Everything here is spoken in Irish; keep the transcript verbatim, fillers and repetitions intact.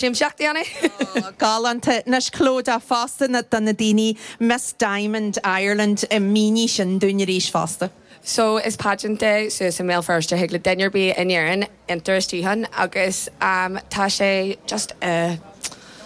Siamsaíocht a dhéanamh. Galánta anois Clodagh fosta na do na daoine Miss Diamond Ireland i mínigh sin dúinn arís fosta. So is pageant é suas i mBéal Feirste thig le duine ar bith in Éirinn entrar isteach ann agus um, tá sé just uh,